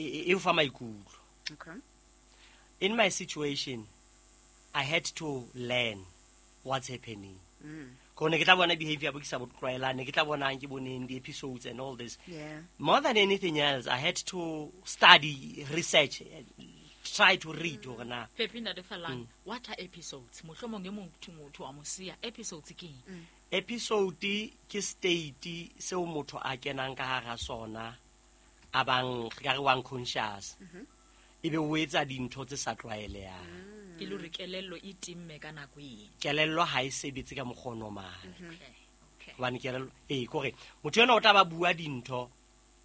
e o fa maikutlo. Okay. In my situation, I had to learn what's happening. Ko ne ke tla bona behavior bo ke sa bo tlwaelang, ne ke tla bonang ke boneng di-episodes and all this. More than anything else, I had to study, research, try to read hore na Pepi, Ntate Falang, what are episodes? Mohlomong e motho wa mo siya. Episodes ke eng? Episode ke state seo motho a kenang ka hara sona, a bang re ka re wa unconscious, ebe o etsa dintho tse sa tlwaelehang. Ke le hore kelello e timme ka nako eng? Kelello ha e sebetse ka mokgwa o normal. Okay. Hobane kelello ee, kore motho enwa o tla ba bua dintho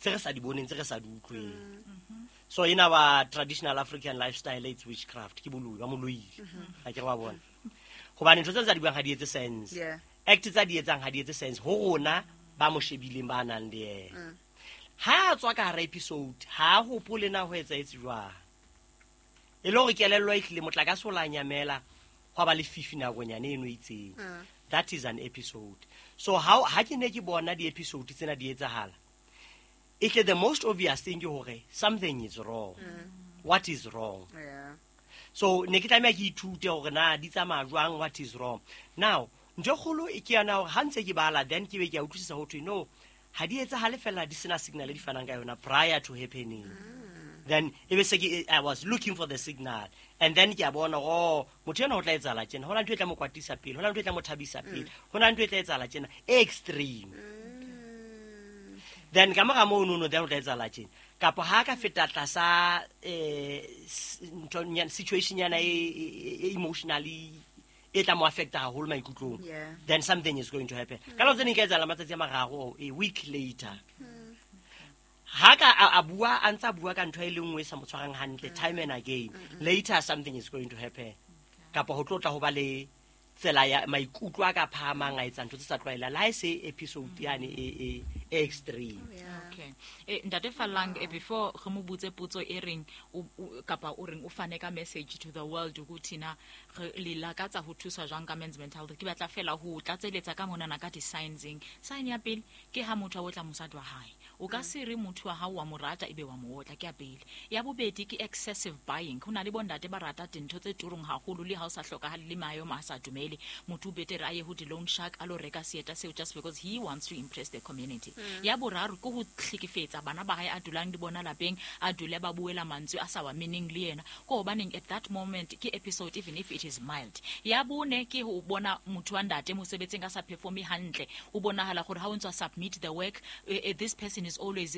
tse re sa di boneng, tse re sa di utlweng. So in our traditional African lifestyle, it's witchcraft, ke boloi, ba mo loile. Ha ke re wa bona, hobane ntho tse tsa di buang ha di etse sense. Act tsa di etsang ha di etse sense ho rona ba mo shebileng, ba nang le yena. Ha a tswa ka hara episode, ha a hopole na ho etsahetse jwang, e le hore kelello e hlile motlakase o la nyamela, hwa ba lefifi nakonyane eno e itseng. That is an episode. So ha ke ne ke bona di-episode tsena di etsahala, ehle the most obvious thing ke hore something is wrong. What is wrong? So ne ke tlameha ke ithute hore na di tsamaya jwang, what is wrong. Now ntho e kgolo e ke yana hore ha ntse ke bala, then ke be ke a utlwisisa ho thwe no, ha di etsahale fela di sena signal e di fanang ka yona prior to happening. Then e be se ke I was looking for the signal, and then ke a bona, oh, motho ena ho tla etsahala tjena, ho na ntho e tla mo kwatisa pele, ho na ntho e tla mo thabisa pele, ho na ntho e tla etsahala tjena e extreme. Then ka mora mono no, then ho tla etsahala tjena, kapa ha ka feta tlasa ntho situation nyana e emotionally e tla mo affecta haholo maikutlong, then something is going to happen. Ka nako tse ding e ka etsahala matsatsi a mararo or a week later. Ha ka a bua, a ntsa bua ka ntho e le nngwe e sa mo tshwarang hantle time and again, later something is going to happen, kapa ho tlo tla ho ba le tsela ya maikutlo a ka phahamang, a etsa ntho tse sa tlwaelang, le ha e se episode yane e extreme. Okay. Ntate Fallang, before re mo botse potso e reng kapa o reng o fane ka message to the world ukuthi na re le lakatsa ho thusa jwang ka men's mental health, ke batla fela ho tlatseletsa ka monana ka di-signseng. Sign ya pele ke ha motho a otla mosadi wa hae. O ka se re motho wa hao wa mo rata ebe wa mo otla, ke ya pele. Ya bobedi ke excessive buying. Ho na le bontate ba rata dintho tse turong haholo le ha o sa hlokahale, le maemo a sa dumele. Motho o betere a ye ho di-loan shark a lo reka seeta seo just because he wants to impress the community. Ya boraro ke ho hlekefetsa bana ba hae a dulang le bona lapeng, a dule ba buela mantswe a sa wa meneng le yena, ko hobaneng at that moment ke episode, even if it is mild. Ya bone ke ho bona motho wa ntate mosebetsing a sa performe hantle, o bonahala gore ha o ntse a submit the work, this person is always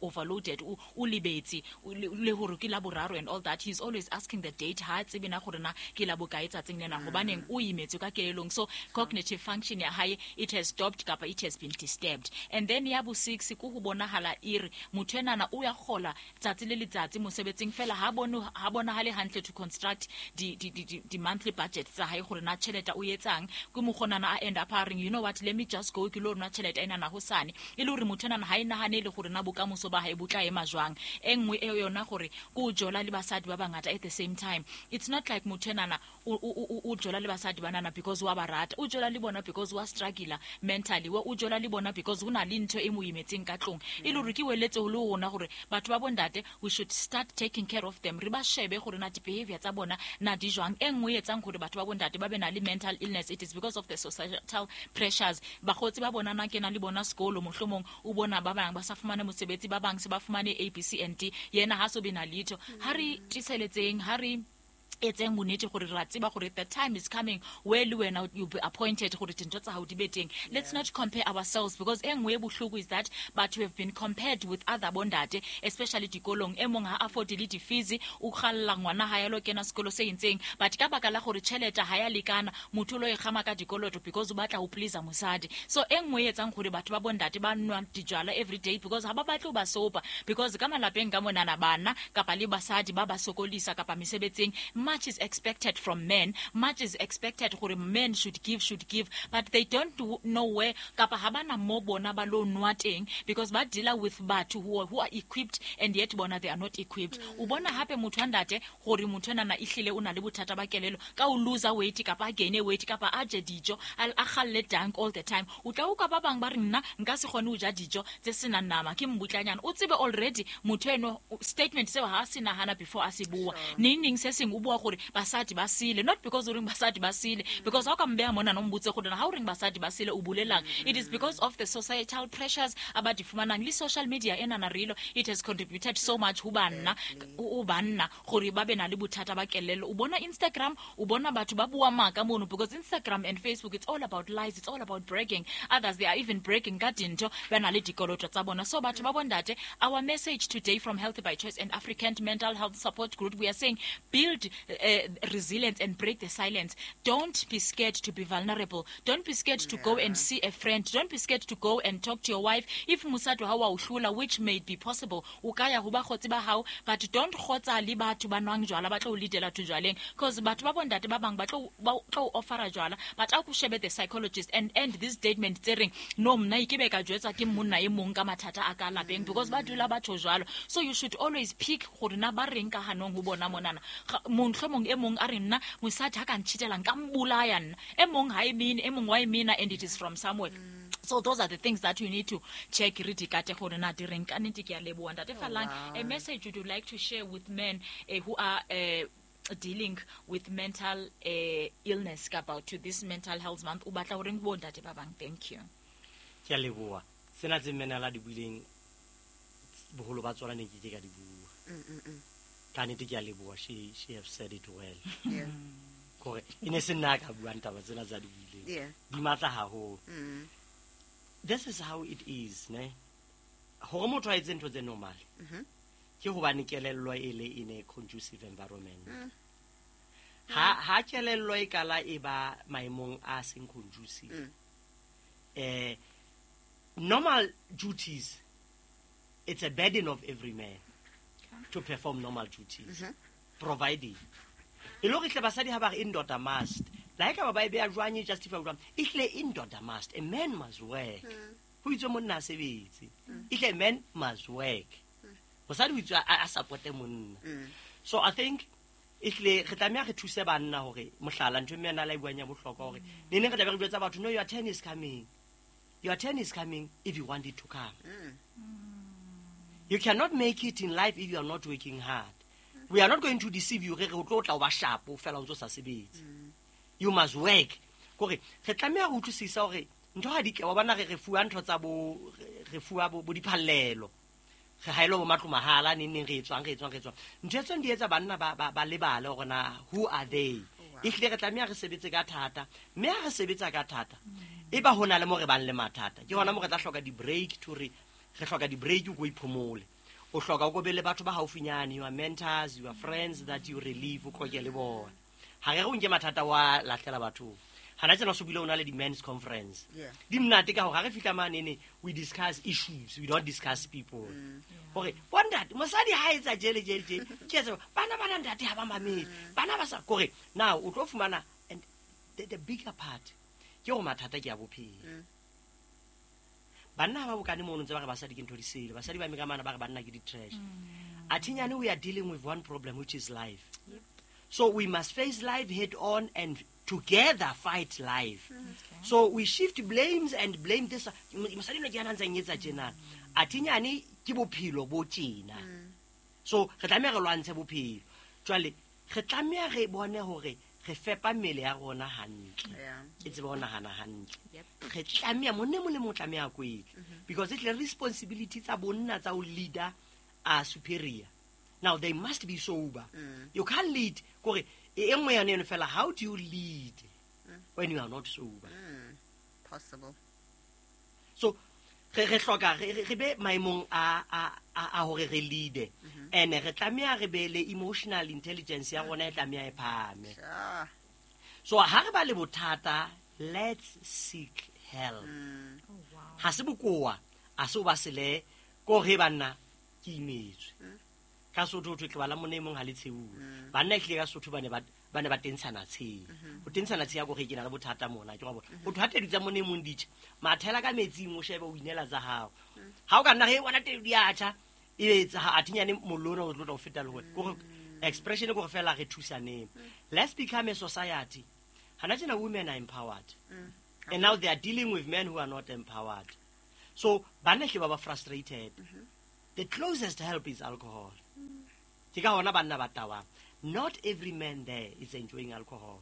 overloaded, o lebetse le hore ke la boraro and all that. He's always asking the date, ha a tsebe na gore na ke la bokae tsatsing lena, hobaneng o imetswe ka kelellong. So cognitive function ya hae, it has stopped kapa it has been disturbed. And then ya bo six ke ho bonahala ere motho enana o ya kgola tsatsi le letsatsi mosebetsing fela, ha bone, ha bonahale hantle to construct di monthly budget tsa hae, gore na tjhelete o etsang. Ke mokgonana a end up a reng, "You know what, let me just go ke lo nwa tjhelete enana hosane," e le hore motho enana ha e nahane le gore na bokamoso ba hae bo tla ema jwang. E nngwe e yona gore ke o jola le basadi ba bangata at the same time. It's not like motho enana o jola le basadi banana because wa ba rata, o jola le bona because wa struggle mentally, o jola le bona because ho na le ntho e mo imetseng ka tlong. E le hore ke weletse ho le rona gore batho ba bondate, we should start taking care of them, re ba shebe gore na di-behavior tsa bona na di jwang. E nngwe e etsang gore batho ba bondate ba be na le mental illness, it is because of the societal pressures. Bakgotsi ba bona na kena le bona sekolo, mohlomong o bona ba bang ba sa fumane mosebetsi, ba bang se ba fumane A, B, C and D, yena ha so be na letho. Ha re tiseletseng, ha re etseng bonnete gore ra tseba gore the time is coming where le wena you'll be appointed gore dintho tsa hao di be teng. Let's not compare ourselves, because e nngwe e bohloko is that but we have been compared with other bondate, especially dikolong. E mong ha afford le di-fees, o kgalla ngwana ha ya lo kena sekolo se entseng, but ka baka la gore tjhelete ha ya lekana, motho o lo e kgama ka dikoloto because o batla ho please mosadi. So e nngwe e etsang gore batho ba bondate ba nwa dijwala every day, because ha ba batle ho ba sopa, because ka malapeng ka monana bana kapa le basadi ba ba sokolisa kapa mesebetsing. Much is expected from men, much is expected gore men should give, but they don't know where kapa ha bana mo bona ba lo nwa teng, because ba dealer with batho who are equipped and yet bona they are not equipped. O bona hape motho wa ntate gore motho enana ehlile o na le bothata ba kelelo ka o lose weight kapa a gain weight kapa a je dijo a galle dank all the time. O tla utlwa ba bang ba re nna nka se kgone ho ja dijo tse senang nama ke mmutlanyana. O tsebe already motho eno statement seo ha se nahana before a se bua. Neng se seng o bua gore basadi ba sile, not because o reng basadi ba sile, because ha o ka mbeha mona no mbotse gore ha o reng basadi ba sile o bolelang. It is because of the societal pressures about di fumanang le social media enana relo, it has contributed so much ho banna o banna gore ba be na le bothata ba kelello. O bona Instagram, o bona batho ba bua maka mono, because Instagram and Facebook, it's all about lies, it's all about bragging. Others, they are even bragging ka dintho ba na le dikoloto tsa bona. So batho ba bondate, our message today from Healthy by Choice and African Mental Health Support Group, we are saying build resilience and break the silence. Don't be scared to be vulnerable. Don't be scared to go and see a friend. Don't be scared to go and talk to your wife. If mosadi wa hao wa o hlula, which may be possible, o ka ya ho bakgotsi ba hao, but don't kgotsa le batho ba nwang jwala ba tlo o leadela to jwaleng, because batho ba bondate ba bang ba tlo offera jwala, but a ko shebe the psychologist and end this statement tse reng no mna ke be ka jwetsa ke monna e mong ka mathata a ka lapeng, because ba dula batho jwalo. So you should always pick gore na ba reng ka hanong ho bona monana. Mohlomong e mong a re nna mosadi ha ka ntshitelang ka mbolaya nna, e mong ha e mine, e mong wa e mina, and it is from somewhere. So those are the things that you need to check. Re di kate gore na di reng ka nnete. Ke a leboha ntate Fallang. A message you would like to share with men who are dealing with mental illness about to this mental health month, o batla horeng bo ntate ba bang? Thank you. Ke a leboha. Sena tse mmena la di buileng boholo ba tsona ne ke ke ka di bua. Ka nnete ke a leboha. She have said it well. Yeah. Kore e ne se nna ka buang taba tsena tsa di buileng. Yeah. Di matla haholo. This is how it is, ne? Hore motho a etse ntho tse normal. Ke hobane kelello e le in a conducive environment. Ha kelello e kala e ba maemong a seng conducive. Normal duties, it's a burden of every man to perform normal duties. Providing. E lo re tle basadi ha ba re indoda must. La ka ba ba e beya jwang e justify jwang? E tle indoda must. A man must work. Ho itse monna a sebetse. E tle man must work. Mosadi o itse a supporte monna. So I think e tle re tlameha re thuse banna hore mohlala ntho mme ana la e buang ya bohlokwa hore ne neng re tla be re jwetsa batho, no, your turn is coming. Your turn is coming if you want it to come. You cannot make it in life if you are not working hard. We are not going to deceive you. Re re o tlo tla o ba sharp o fela o ntso sa sebetse. You must work. Kore re tlameha ho utlwisisa hore ntho ha di ke wa bona re fuwa ntho tsa bo re fuwa bo diphallelo. Re haelo bo matlo mahala neng neng re etswang. Ntho tse di etsa banna ba lebale hore na who are they. Ehlile re tlameha re sebetse ka thata. Mme ha re sebetsa ka thata e ba hona le mo re bang le mathata. Ke hona mo re tla hloka di break to re hloka di break o iphomole. O hloka o be le batho ba haufinyane, your mentors, your friends that you relieve o koke le bona. Ha re re o nke mathata wa lahlela batho. Hana tsena so bile o na le di men's conference. Di mnate ka hore ha re fihla mane we discuss issues, we don't discuss people. Hore bontate mosadi ha etsa jele ke etsa bana ntate ha ba mamele. Bana ba sa kore now o tlo fumana, and the bigger part ke hore mathata ke a bophelo. Banna ba bokane mono ntse ba re basadi ke ntho di sele, basadi ba mekamana ba re banna ke di trash. Athinyane we are dealing with one problem, which is life. So we must face life head on and together fight life. So we shift blames and blame this. Mosadi no ke yana ntse etsa tjena. Athinyane ke bophelo bo tjena. So re tlameha re lwantshe bophelo. Jwale re tlameha re bone hore re fepa mmele ya rona hantle. E tsebe ho nahana hantle. Re tlameha monna mo le mo tlameha kwetla. Because it's the responsibility tsa bonna tsa ho leader are superior. Now they must be sober. You can't lead. Kore e nngwe yane eno fela, how do you lead when you are not sober? Possible. So re hloka re be maemong a hore re lead. And re tlameha re be le emotional intelligence ya rona e tlameha e phahame. So ha re ba le bothata, let's seek help. Ha se bokoa, a se o ba sele ko re banna ke imetswe. Ka Sotho ho thwe tloba la monna e mong ha le tsheuwe. Banna ehlile ka Sotho ba ne ba ba ne ba tentshana tsheng. Ho tentshana tsheng ya kore ke na le bothata mona, ke wa bona. Ho thwe ha tedu tsa monna e mong di tjha, mathela ka metsing o shebe o inela tsa hao. Ha o ka nna he bona tedu di a tjha, e etsa ha athinyane mollo ona o tlo tla o feta le wena. Kore expression ke hore fela re thusaneng. Let's become a society. Hana tjena women are empowered. And now they are dealing with men who are not empowered. So banna hle ba ba frustrated. The closest help is alcohol. Ke ka hona banna ba tawang. Not every man there is enjoying alcohol.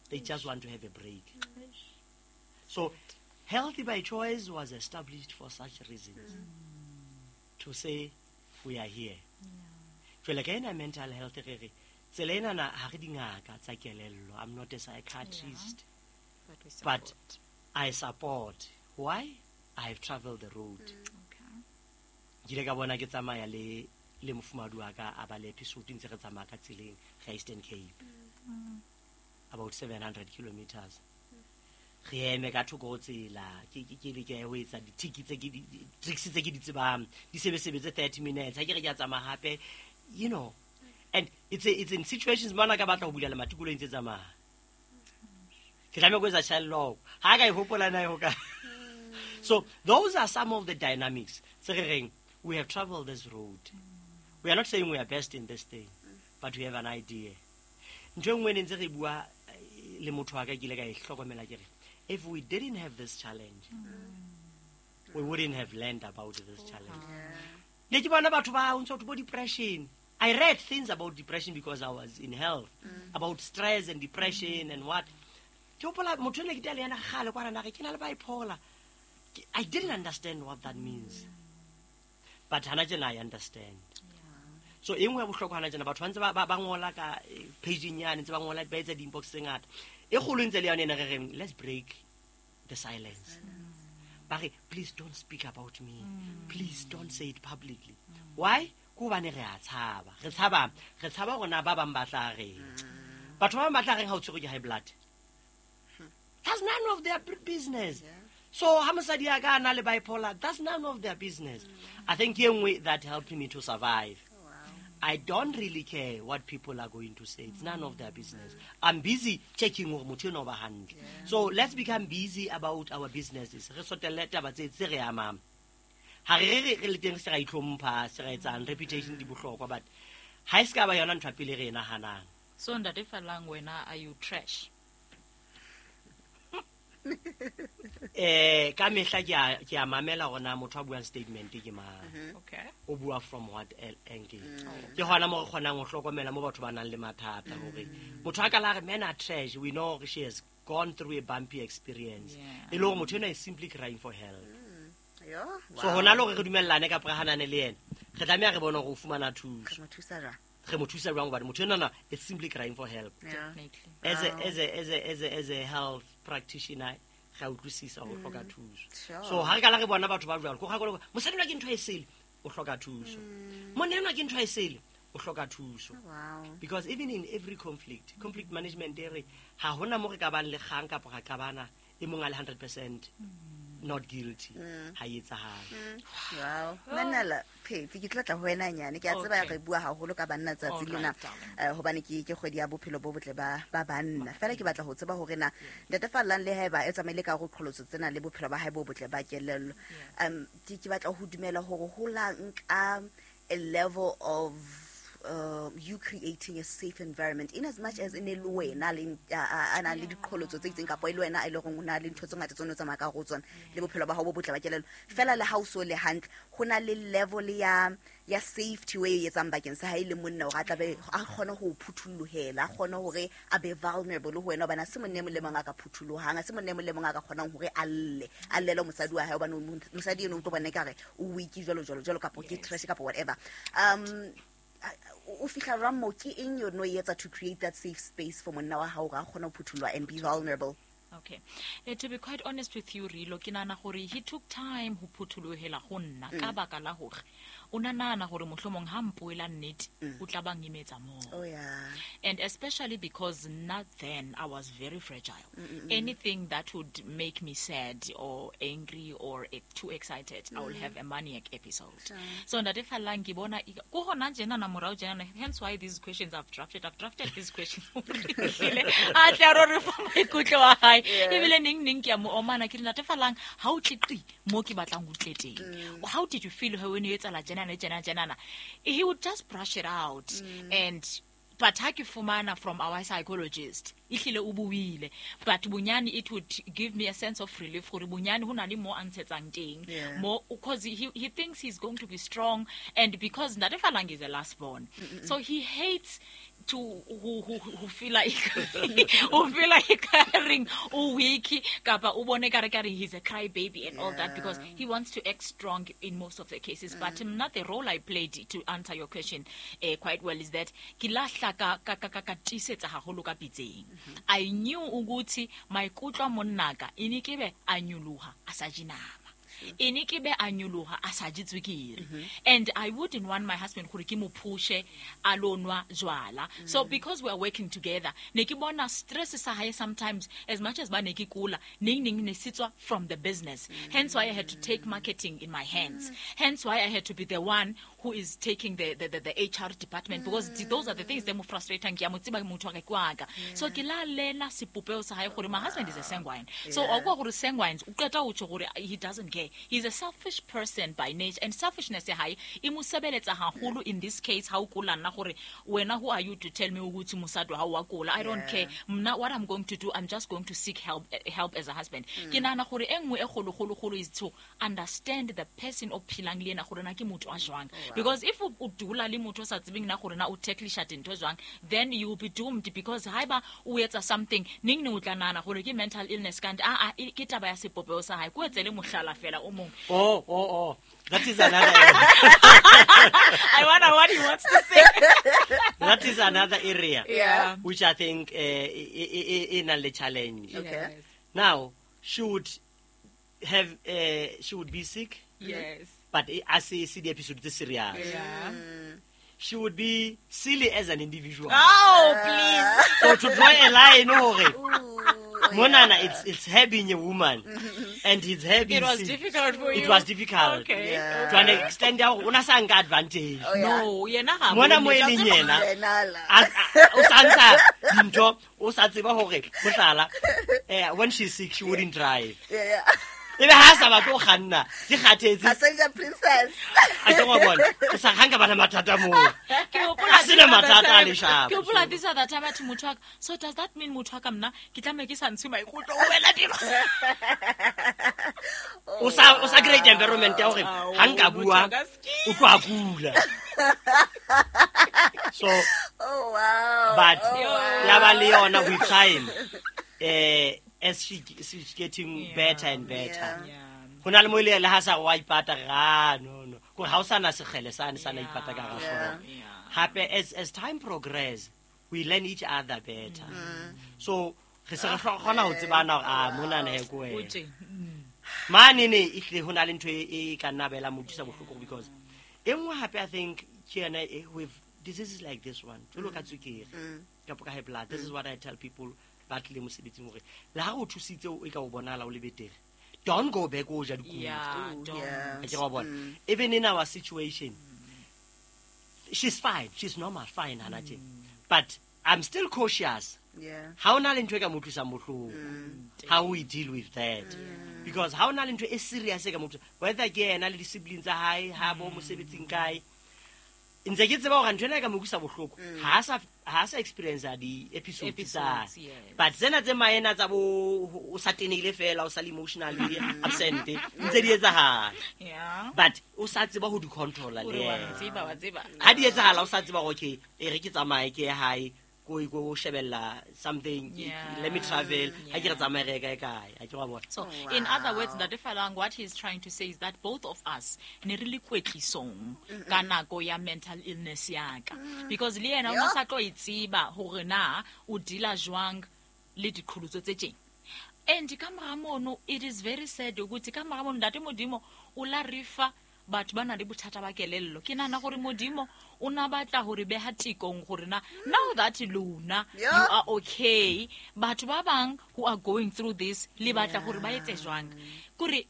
They just want to have a break. So Healthy by Choice was established for such reasons. To say we are here. Jwale ka ena mental health re re tsela ena na ha re dingaka tsa kelello. I'm not a psychiatrist. But we But support. I support. Why? I have traveled the road. Okay. Ke ile ka bona ke tsamaya le le mofumahadi wa ka a ba le episode ntse re tsamaya ka tseleng ga Eastern Cape. About 700 kilometers. Re eme ka thoko ho tsela ke ke ke leke ho etsa di-tick tse ke tricks tse ke di tsebang di sebesebetse 30 minutes ha ke re ke a tsamaya hape, you know. And it's in situations mona ka batla ho bula lemati koloi ntse tsamaya, ke tlameha ho etsa child lock ha ka e hopola na e ho ka. So those are some of the dynamics tse re reng we have traveled this road. We are not saying we are best in this thing, but we have an idea. Ntho e nngwe ne ntse re bua le motho wa ka, ke ile ka e hlokomela ke re if we didn't have this challenge, we wouldn't have learned about this challenge. Ne ke bona batho ba o ntso bo depression. I read things about depression because I was in health, about stress and depression and what. Ke hopola motho ene ke tea le yena kgale kwana na re ke na le bipolar. I didn't understand what that means. But hana tjena I understand. So e nngwe ya bohlokwa hana tjena batho ba ntse ba ngola ka page-ing yane, ntse ba ngola ba etsa di-inbox tse ngata. E kgolo ntse le yona ena re reng let's break the silence. Ba re please don't speak about me. Please don't say it publicly. Why? Ke hobane re a tshaba. Re tshaba, re tshaba hore na ba bang ba tla reng. Batho ba bang ba tla reng ha o tshwerwe ke high blood? That's none of their business. So ha mosadi ya ka a na le bipolar, that's none of their business. I think e nngwe that helped me to survive. I don't really care what people are going to say. It's none of their business. I'm busy checking hore motho enwa o ba hantle. So let's become busy about our businesses. Re sotelle taba tse re amang. Ha re re re le teng se ra itlhompha, se ra etsang, reputation di bohlokwa, but ha e se ka ba yona ntho ya pele re e nahanang. So ntate Fallang, wena are you trash? Ka mehla ke a mamela hore na motho a buang statement ke mang. Okay. O bua from what angle. Ke hona mo re kgonang ho hlokomela mo batho ba nang le mathata hore motho a ka la re men are trash, we know she has gone through a bumpy experience. E le hore motho enwa is simply crying for help. Yo, So wow. hona le hore re dumellane kapa re hanane le yena, re tlameha re bone hore o fumana thuso. Re mo thusa jwang? Re mo thusa jwang hobane motho enwana is simply crying for help. Definitely. As a health practitioner, re a utlwisisa hore o hloka thuso. Sure. So ha re kala re bona batho ba jwalo, ko ga go mosadi enwa ke ntho e sele, o hloka thuso. Monna enwa ke ntho e sele, o hloka thuso. Wow. Because even in every conflict, conflict management e re ha hona mo re ka bang le kgang kapa ra qabana e mong a le 100% not guilty. Ha e etsahale. Wow. Manala, Phetsi, ke tlo tla ho wena nyane. Ke a tseba Okay. re bua haholo ka banna tsatsi All lena. right, darling. Hobane ke kgwedi ya bophelo bo botle ba banna. Feela ke batla ho tseba hore na ntate Fallang le haeba e tsamaile ka hore qholotso tsena le bophelo ba hae bo botle ba kelello. Ke batla ho dumela hore ho la nka a level of you creating a safe environment in as much as e ne le wena le a nang le diqholotso tse itseng kapa e le wena e le horeng o na le ntho tse ngata tse o ne o tsamaya ka hare ho tsona le bophelo ba hao bo botle ba kelello. Feela le ha o so le hantle, ho na le level ya safety o e etsang bakeng sa hae le monna hore a tla be a kgone ho phuthulohela, a kgone hore a be vulnerable ho wena, hobane ha se monna e mong le mong a ka phuthulohang, ha se monna e mong le mong a ka kgonang hore a lle, a llele mosadi wa hae, hobane mosadi eno o tlo bona ekare o weak jwalo, jwalo, jwalo, kapa ke trash kapa whatever. O fihla jwang moo? Ke eng eo no e etsa to create that safe space for monna wa hao hore a kgone ho phuthuloha and be vulnerable? Okay. To be quite honest with you, Rilo, ke nahana gore he took time ho phuthulohela ho nna ka baka la hore o na nahana hore mohlomong ha mpoela nnete o tla ba ngimetsa moo. Oh yeah. And especially because not then I was very fragile. Anything that would make me sad or angry or too excited, I will have a maniac episode. So ntate Fallang ke bona ko hona tjena na morao tjena, hence why these questions I've drafted. I've drafted these questions. A tle a ro re fa maikutlo a hae. Ebile neng neng ke a mo omana ke re ntate Fallang ha o tle qi mo ke batlang ho tle teng. How did you feel when you etsahala tjena le tjena tjena? He would just brush it out. And but ha ke fumana from our psychologist ehlile o buile, but bonyane it would give me a sense of relief gore bonyane ho na le mo a ntshetsang teng. Mo, because he thinks he's going to be strong, and because Ntate Fallang is a last born, so he hates to who feel like who feel like carrying o weak kapa o bone ka re ka re he's a cry baby and all that, because he wants to act strong in most of the cases. But not the role I played to answer your question quite well is that ke lahla ka ka ka ka ka tiisetsa haholo ka pitseng. I knew ukuthi maikutlo a monnaka e ne ke be a nyoloha a sa je nama. E ne ke be a nyoloha a sa je tswekere. And I wouldn't want my husband gore ke mo pushe a lo nwa jwala. So because we are working together, ne ke bona stress sa hae sometimes, as much as ba ne ke kula, neng neng ne se tswa from the business. Hence why I had to take marketing in my hands. Hence why I had to be the one who is taking the HR department, because those are the things that mo frustrating. Ke a mo tseba motho wa ka ke wa ka. So ke la lena sepopeho sa hae gore my husband is a sanguine. So o kwa gore sanguines, o qeta ho tjho gore he doesn't care. He's a selfish person by nature, and selfishness ya hae e mo sebeletsa haholo in this case. Ha o kula nna gore wena, who are you to tell me ukuthi mosadi wa hao wa kula? I don't care. Mna, what I'm going to do, I'm just going to seek help as a husband. Ke nahana gore e nngwe e kgolo, kgolo, kgolo is to understand the person o phelang le yena gore na ke motho a jwang. Because if o dula le motho o sa tsebeng na gore na o tacklisha dintho jwang, then you will be doomed, because haeba o etsa something neng neng o tla nahana gore ke mental illness, kanti a a ke taba ya sepopeho sa hae. Ko etsele mohlala fela o mong. Oh, oh, oh. That is another area. I wonder what he wants to say. That is another area. Which I think in a challenge. Now, she would be sick. But as I see the episode, this serious. She would be silly as an individual. Oh, please. So to draw a line, oh, Ooh, Monana, yeah. it's her being a woman, and it's her being It was sick. difficult for It you. was difficult. To an extent, ya hore o na sa nka advantage. Oh, yeah. No, yena ha Mona bone mo e tsa leng tseba. yena, Yena la. O sa ntsha dintho, o sa tseba hore, mohlala, when she's sick, she wouldn't drive. Ebe ha sa batle ho kganna, ke kgathetse. Passenger princess. A ke wa bona, o sa kgang ka bana mathata moo. Ke hopola A sena this other mathata a time. leshapa. Ke hopola this other time athe motho wa ka, so does that mean motho wa ka mna ke tlameha ke sa ntshe maikutlo ho wena temo? O sa create environment ya hore Ao, ha nka motho bua, wa ka ski. o tlo a kula. So, Oh, wow. but Oh, wow. ya ba le yona with time, as she's getting better and better. Ho na le mo ile le ha sa wa ipata ga no no. Ko ha o sa na sekgele sane sa na ipata ka ga hlooho. Hape as time progress, we learn each other better. So re se re kgona ho tsebana hore, ah, mona na he ko O wena. tje. Mane ne ehlile ho na le ntho e ka nna bela mo utlwisa bohloko, because e nngwe hape I think ke yona with diseases like this one, jwalo ka tswekere kapa ka high blood, this is what I tell people ba tlile mosebetsing hore le ha o thusitse o e ka o bonahala o le betere, don't go back o ja dikuku. Yeah, Ooh, don't. yeah. A ke wa bona, even in our situation, she's fine, she's normal, fine hana tje, but I'm still cautious. Ha o na le ntho e ka mo utlwisang bohloko, how we deal with that, because ha o na le ntho e serious e ka mo utlwisang, whether ke yena le di-siblings tsa hae ha bo mosebetsing kae, ntse ke tseba hore ntho ena e ka mo utlwisa bohloko, ha sa experience di-episodes tsa Episodes, yes. but tsena tse maena tsa bo o sa tenehile fela, o sa le emotionally absent, ntse di etsahala, but o sa tseba ho di controla le Ore wa yena. tseba, wa tseba. Ha di etsahala o sa tseba hore okay, e re ke tsamaye ke ye hae ko shebella something, let me travel, ha ke re tsamaye re ye kae kae, ha ke wa bona. So, in other words, Ntate Falang, what he's trying to say is that both of us ne re le kwetlisong ka nako ya mental illness ya ka. Because le yena o ne sa tlo e tseba hore na o deala jwang le diqholotso tse tjena. And ka mora mono, it is very sad ukuthi ka mora mono ntate Modimo o la re fa batho ba na le bothata ba kelello. Ke nahana gore Modimo o na batla hore beha tekong gore na now that lona you are okay, batho ba bang who are going through this le batla gore ba etse jwang. Kore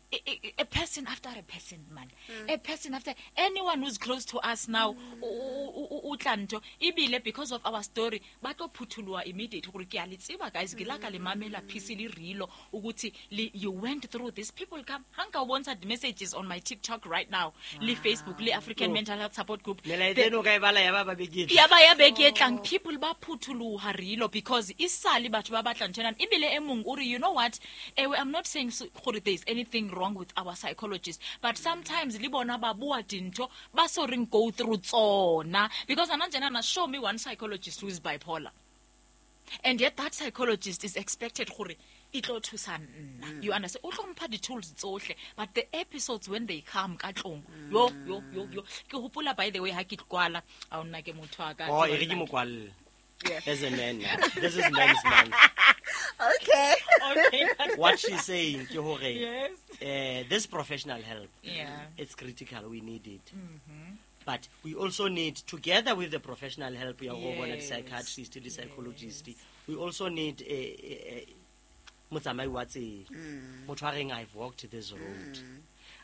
a person after a person, man. A person after anyone who's close to us now o tla ntho ebile because of our story ba tlo phuthuloha immediately gore ke a le tseba guys, ke la ka le mamela PC le rilo ukuthi you went through this. People come ha nka o bontsha the messages on my TikTok right now le Facebook le African Mental Health Support Group. Melaetsa eno ka e bala ya ba ba beke e tlang. Ya ba ya beke e tlang, people ba phuthuloha rilo because isale batho ba batla ntho ena. Ebile e mong o re, you know what, ewe, I'm not saying gore there is anything wrong with our psychologists, but sometimes le bona ba bua dintho ba so reng go through tsona, because ana njena show me one psychologist who is bipolar, and yet that psychologist is expected gore e tlo thusa nna. You understand? O tlo mpha di-tools tsohle, but the episodes when they come ka tlong, yo yo yo yo, ke hopola by the way ha ke kwala, a o nna ke motho wa ka. Oh, e re ke mo kwalle. Yeah. As a man, this is men's month. Okay. Okay. What she's saying, ke hore, Yes. This professional help, Yeah. it's critical. We need it. But we also need, together with the professional help, ya go bona Yes. di-psychiatrist, le psychologist, we also need a motsamai wa tsela. Motho a reng, I've walked this road.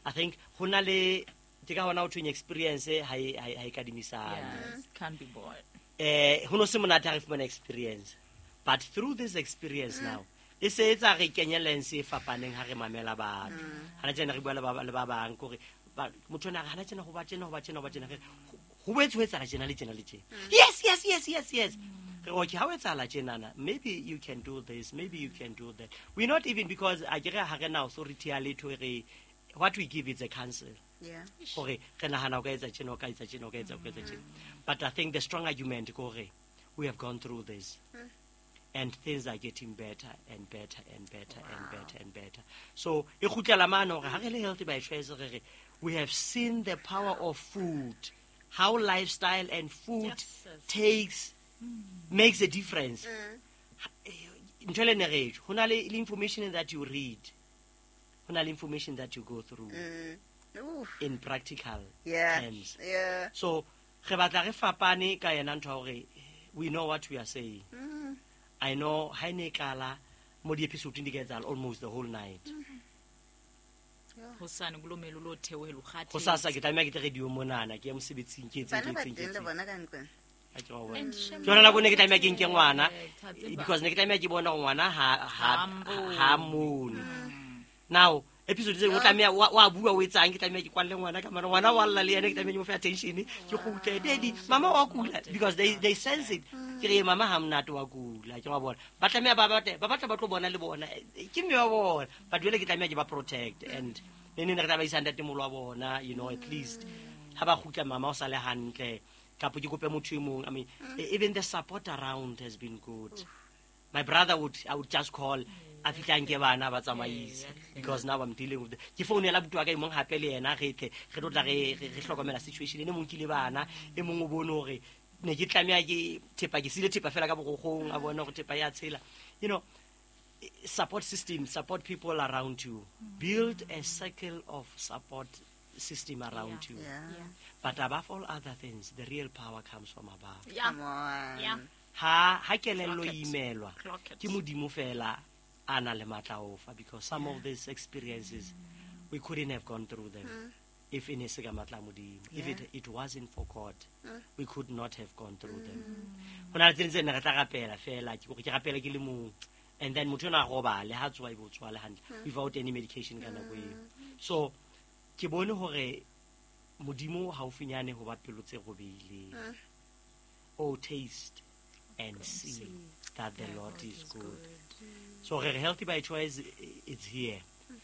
I think ho na le, ke ka hona ho thweng experience ha e, ha e, ha e kadimisane. Yes, can't be bought. Ho no se monate ha re fumana experience, but through this experience now, e se etsa re kenye lens e fapaneng ha re mamela batho. Hana tjena re bua le ba, le ba bang, kore ba, motho ona re hana tjena ho ba tjena, ho ba tjena, ho ba tjena, re, ho boetse ho etsahala tjena le tjena le tjena. Yes, yes, yes, yes, yes. Re re, okay, ha ho etsahala tjenana, maybe you can do this, maybe you can do that. We're not even, because a ke re ha re na authority ya letho, re, what we give is a counsel. Yeah. Hore re nahana o ka etsa tjena, o ka etsa tjena, o ka etsa, o ka etsa tjena. But I think the strong argument ke hore we have gone through this. And things are getting better and better and better and better and better. So, e kgutlela mane hore ha re le healthy by choice, re re, we have seen the power of food, how lifestyle and food Yes, yes. makes a difference. Ntho e le ne re tjho, ho na le information that you read, ho na le information that you go through. Oof. In practical Yeah. terms. Yeah. So, re batla re fapane ka yena ntho ya hore we know what we are saying. I know ha e ne e qala mo di-episode di ka etsahala almost the whole night. Hosane kulo mele lo theohela o kgathetse. Hosasa ke tlameha ke tle radio monana, ke ye mosebetsing, ke etseng, Bana ke ba etseng, ke teng le etseng. bona ka ntlong. Ha ke wa bona. And shame Ke yona nako e ne ke tlameha ke nke ngwana, Tha tseba. because ne ke tlameha ke bona hore ngwana Ha mbone. ha mmone. Now, episode tse o tlameha wa bua o etsang, ke tlameha ke kwalle ngwana ka mane, ngwana wa lla le yena, ke tlameha ke mo fe attention, ke kgutle, daddy, mama wa kula, because they sense it. Ke re, mama ha monate wa kula, ke wa bona. Ba tlameha ba batle, ba batla ba tlo bona le bona, ke mme wa bona. But jwale ke tlameha ke ba protect, and ne ne re tla ba isa ntatemoholo wa bona, you know, at least ha ba kgutla mama o sale hantle, kapa ke kope motho e mong. I mean, even the support around has been good. My brother would, I would just call, a fihla nke bana ba tsamaise, because now I'm dealing with the, ke founela abuti wa ka e mong hape le yena, re tle, re tlo tla re hlokomela situation. Ene mong ke le bana, e mong o bone hore ne ke tlameha ke thepa, ke sile thepa fela ka borokgong, a bona hore thepa ya tshela. You know, support system, support people around you. Build a circle of support system around you. Yeah. Yeah. But above all other things, the real power comes from above. Yeah. Come on. Yeah. Ha kelello Clock it. imelwa, Clock it. ke Modimo fela a nang le matla a ho fa, because some of these experiences, we couldn't have gone through them if e ne se ka matla a Modimo. If it wasn't for God, we could not have gone through them. Ho na le tse ding tse ne re tla rapela fela, ke hore ke rapela ke le mong. And then motho enwa a robale, ha tsoha ebe o tsoha le hantle, without any medication ka nako eo. So, ke bone hore Modimo haufinyane ho ba pelo tse robehileng. Oh, taste and see that the Lord is good. So re healthy by choice, it's here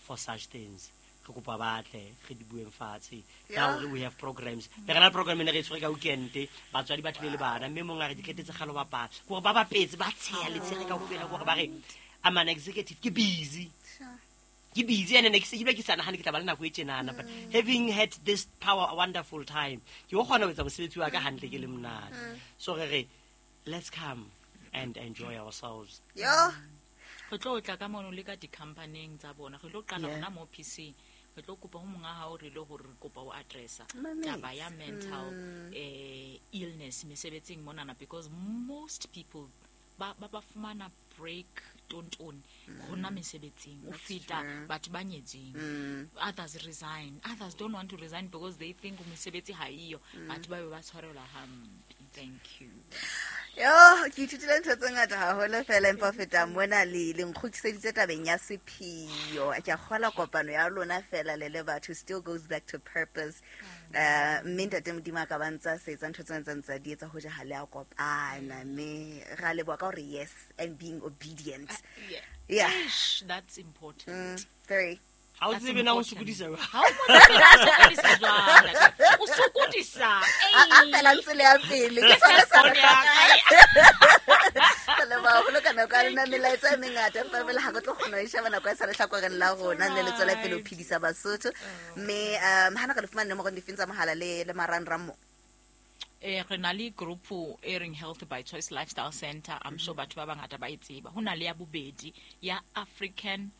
for such things. Re kopa ba tle, re di bueng fatshe. Yeah. Now we have programs. Le rena program e ne re e tshwere ka weekend, batswadi ba tlile le bana, mme mong a re di qetetse kgale ho bapala. Ke hore ba bapetse, ba tsheha le tshehe kaofela, ke hore ba re, I'm an executive, ke busy. Sure. Ke busy, and ne ke se ke bile ke sa nahane ke tla ba le nako e tjenana, but having had this power, a wonderful time, ke o kgona ho etsa mosebetsi wa ka hantle ke le monate. So re re, let's come and enjoy ourselves. Yo. Re tlo tla ka mono le ka di-companyng tsa bona. Re tlo qala hona mo PC. Re tlo kopa ho monga hao re le hore re kopa o addressa taba ya mental illness mesebetsing monana, because most people ba fumana break tonton hona mesebetsing o feta batho ba nyetseng. Others resign, others don't want to resign because they think mesebetsi ha iyo, batho ba be ba tshwarelwa hampe. Thank you. Yo, ke ithutile ntho tse ngata haholo fela empa feta mona le nkgutliseditse tabeng ya sephio. Ke a kgola kopano ya lona fela le le batho still goes back to purpose. Mme ntate Modimo a ka ba ntsa se etsa ntho tsena tsa di etsa ho ja ha le a kopana, mme ra leboha ka hore yes and being obedient. Yeah. Ish, that's important. Very. Ha o tsebe na o sokodisa jwang? Ha o sokodisa jwang? O sokodisa. A fela ntse le ya pele. Ke sona sa re leboha haholo ka nako ya lona, melaetsa e mengata empa fela ha re tlo kgona ho e sheba nako e sa lehlakoreng la rona, le le tswela pele ho phedisa Basotho. Mme ha na re le fumane nomorong difeng tsa mohala le marangrang mo? Re na le group e reng Health by Choice Lifestyle Center. I'm sure batho ba bangata ba e tseba. Ho na le ya bobedi ya African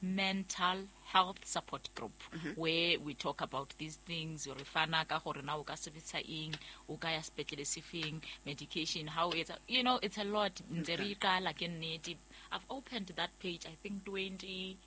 Mental Health Support Group, where we talk about these things. Re fana ka hore na o ka sebetsa eng, o ka ya sepetlele sefeng, medication, how it's, you know, it's a lot. Ntse re iqala ke nnete. I've opened that page, I think 20,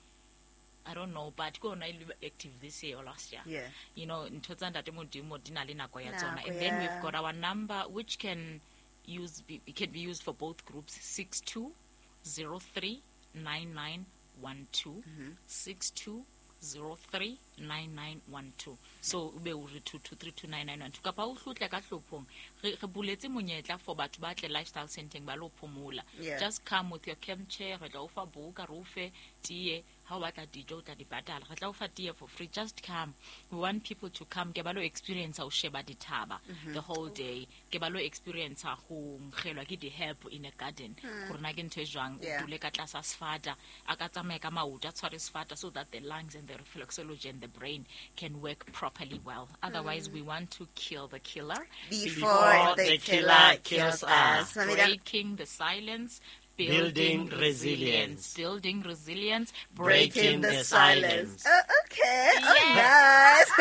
I don't know, but go on active this year or last year. Yeah. You know, ntho tsa ntate Modimo di na le nako ya tsona. And then we've got our number, which can be used for both groups, 6203 9912, 6203 9912. So ube o re 22329912 kapa o hlutle ka hlophong. Re buletse monyetla for batho ba tle lifestyle centeng ba lo phomola. Just come with your camp chair, re tla o fa buka, re o fe tie. Ha o batla dijo o tla di patala, re tla o fa tie for free. Just come. We want people to come ke ba lo experience ho sheba dithaba the whole day, ke ba lo experience ho nkgelwa ke di help in a garden, gore na ke ntho e jwang, o dule ka tlasa sefata, a ka tsamaya ka maoto, a tshware sefata, so that the lungs and the reflexology and the brain can work properly well. Otherwise, we want to kill the killer before the killer kills us. Breaking the silence, building resilience. Building resilience, breaking the silence. Oh, okay. Oh, nice.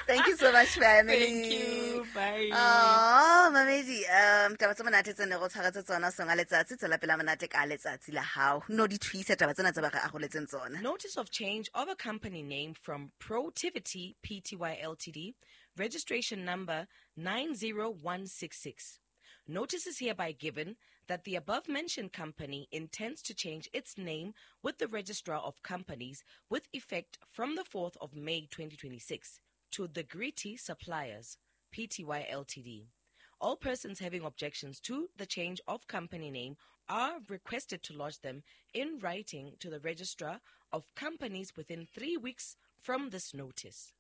Thank you so much, family. Thank you. Bye. Oh, mamedi, taba tse monate tse ne go tshwaretse tsona songa letsatsi, tswela pela monate ka letsatsi la hao. No di thuisa taba tsena tse ba re aroletseng tsona. Notice of change of a company name from Protivity Pty Ltd, registration number 90166. Notice is hereby given that the above-mentioned company intends to change its name with the Registrar of Companies with effect from the 4th of May 2026 to The Gritty Suppliers, Pty Ltd. All persons having objections to the change of company name are requested to lodge them in writing to the Registrar of Companies within 3 weeks from this notice.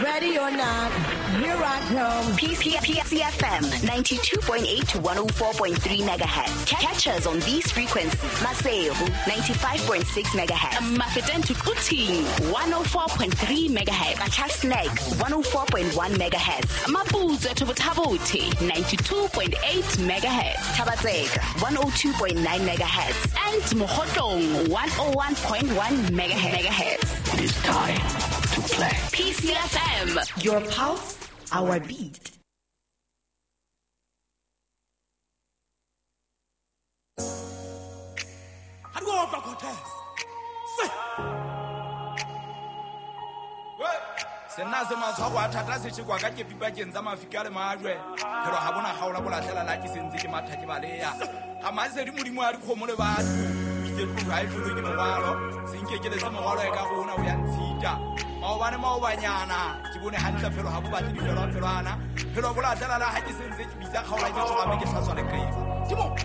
Ready or not, here I come. PCFM 92.8 to 104.3 megahertz. Catch us on these frequencies. Maseru 95.6 megahertz. Mafeteng to Quthing 104.3 megahertz. Qacha's 104.1 megahertz. Maputswe to Botha-Bothe 92.8 megahertz. Thaba-Tseka 102.9 megahertz. And Mokhotlong 101.1 megahertz. It is time to play. PCFM. Your pulse, our beat. Sena se matshwao a thata se tshekwa ka kepi pakeng tsa mafika le majwe. Phelo ha bona kgaola bolatlela la ke sentse ke matha ke baleya. Ga masedi modimo a dikgomo le batho. Itse tlo ha e tlolo ke morwalo. Se nkekeletse morwalo e ka rona o ya ntshita. Maobane maobanyana ke bone hantle phelo ha bo batle difelwa phelwana. Phelo bolatlela la ha ke sentse ke bitsa kgaola ke tshoga mme ke hlatswa leqeba. Timo.